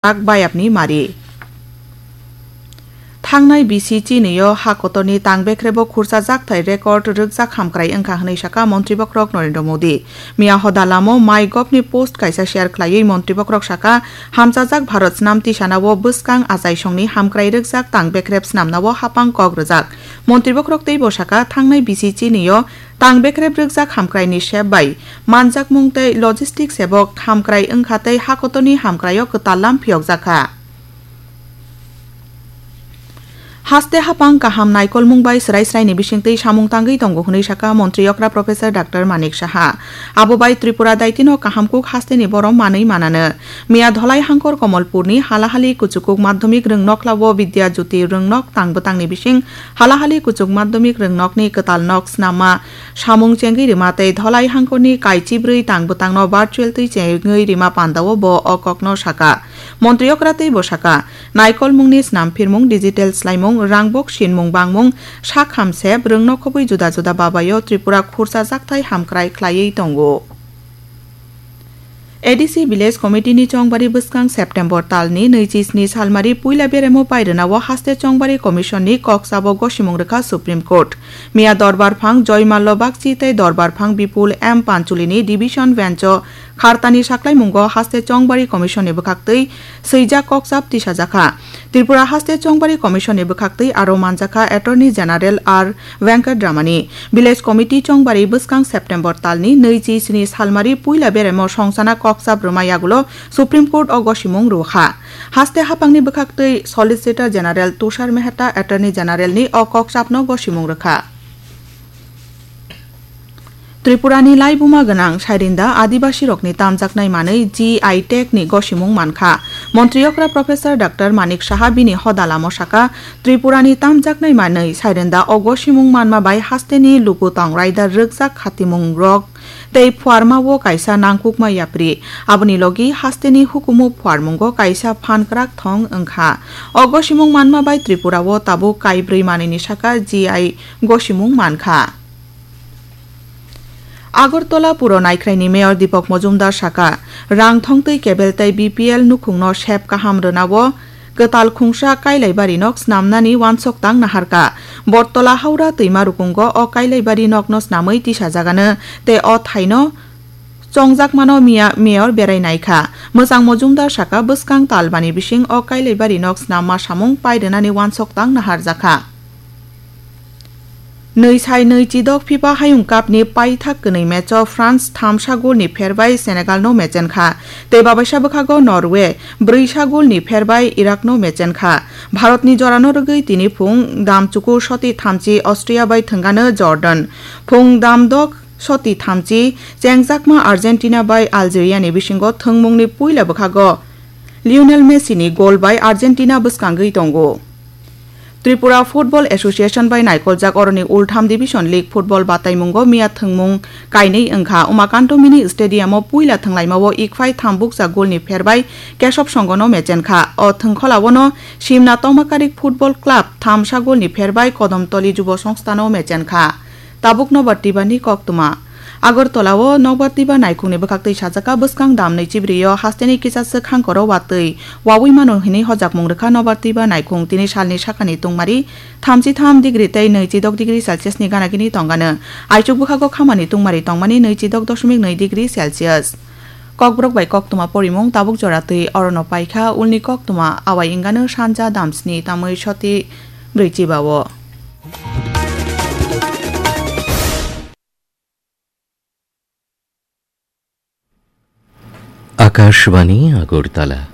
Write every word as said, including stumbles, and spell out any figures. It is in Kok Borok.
Rak bayapni mari. Thangnai bisi chinio ha kotorni tang bekrebo khursa jakthai record rwkjak hamkrai wngkha hwnwi sakha Montri Bokhorok Narendra Modi. Miya hoda lamo MyGovni post kaisa share khlaiwi Montri Bokhorok sakha, hamchajak Bharat snam tisanao bwskang achaisongni hamkrai rwkjak tang bekrep snamnao hapang kok rwjak. Montri Bokhorok teibo sakha, thangnai bisi chinio tang bekrep rwkjak hamkraini sep bai manjakmung tei logistics sebo hamkrai wngkha tei hakotorni hamkraio kwtal lam phiyokjakha. Haste hapang kaham naikolmung bai swrai swraini bisingtwi samung tangwi tongo hwnwi sakha Montri okra Professor Doctor Manik Saha. Abo bai Tripura daitino kaham kuk hasteni borom manwi manano. Miya Dholai hangkor Komolpurni halahali kuchukuk madhyamik rwngnoklao Vidya Jyoti rwngnok tang bwtangni bising halahali kuchuk madhyamik rwngnokni kwtal nok snamma samung chengwi rima tei Dholai hangkorni kaichibrwi tang bwtangno virtual twi chengwi rima pandao bo o kokno sakha. Montri okra teibo sakha, naikolmungni snam phirmung, digital swlaimung, rangbok sinmung bangmung, sak hamsep, rwngnok khobwi juda juda babaio Tripura khursa jakthai hamkrai khlaiwi tongo. A D C Village Committee ni chongbari bwskang September talni nwichi sni salmari puila beremo pairwnao haste chongbari commission ni kok sabo gosimung rwkha Supreme Court. Miya Dorbar Phang Joymallo Bagchi tei Dorbar Phang Bipul M Panchuli ni division bench o khartani saklaimungo haste chongbari commission ni bwkhaktwi swijak kok sab tisajakha. Tripura haste chongbari commission ni bwkhaktwi aro manjakha Attorney General R Venkatramani. Village Committee chongbari bwskang September talni nwichi sni salmari puila beremo songsana koksap rwma yagulo Supreme Court o gosimung rwkha. Haste hapangni bwkhaktwi Solicitor General Tushar Mehta Attorney General ni o koksapno gosimung rwkha. Tripurani laibuma gwnang Sairinda Adibasirokni tamjaknai manwi G I tag ni gosimung mankha. Montri okra Professor Doctor Manik Saha bini hoda lamo sakha, Tripurani tamjaknai manwi Sairinda o gosimung manma bai hasteni luku tong raida rwkjak khatimungrok tei phuarmao kaisa nangkukma yapri. Aboni logi hasteni hukumu phuarmungo kaisa phan kwrak thong wngkha. O gosimung manma bai Tripurao tabuk kaibrwi manwini saka G I gosimung mankha. Agartala Puro Naikhraini Mayor Deepak Majumdar sakha, rang thongtwi cable tei B P L nukhungno sep kaham rwnao kwtal khungsa Kailaibari nok snamnani uansuk tang naharkha. Bortola Haura twima rukungo o Kailaibari nokno snamwi tisajagano tei o thaino chongjakmano miya Mayor berai naikha. Mwchang Majumdar sakha, bwskang talbani bising o Kailaibari nok snamma samung pairwnani uansuk tang naharjakha. Nwi sai nwi chidok FIFA Hayung Cup ni paithak kwnwi match o France thamsa goal ni pher bai Senegal no mechenkha. Tei babaisa bwkhago Norway brwisa goal ni pher bai Iraq no mechenkha. Bharat ni jora no rwgwi tini phung dam chukur soti thamchi Austria bai thwngano Jordan. Phung dam dok soti thamchi chengjakma Argentina bai Algeria ni bisingo thwngmung ni puila bwkhago Lionel Messi ni goal bai Argentina bwskangwi tongo. Tripura Football Association bai naikoljak oroni ultham Division League football bataimungo miya thwngmung kainwi wngkha. Umakanto Mini Stadium o puila thwnglaimao ikphai tham bukcha goal ni pher bai Kesop Songo no mechenkha. O thwngkholao no Simna Tomakarik Football Club thamsa goal ni pher bai Kodomtoli Jubo Songstha no mechenkha. Tabuk nobar twibani koktwma. Agartala o nobar twiba naikhungni bwkhaktwi sajaka bwskang damni chibrio hasteni kisa swk hangkoro watwi wawi mano hinwi hojakmung rwkha nobar twiba naikhung tini salni sakani tungmari thamchi tham degree tei nwi chidok degree Celsius ni gana gini tongano. Aichuk bwkhago khamani tungmari tongmani nwi chidok dosmik nwi degree Celsius. Kokborok bai koktwma porimung tabuk jora twi orono paikha ulni koktwma awai wngano sanja damsni tamwi soti brwi chibao. Akashbani Agartala.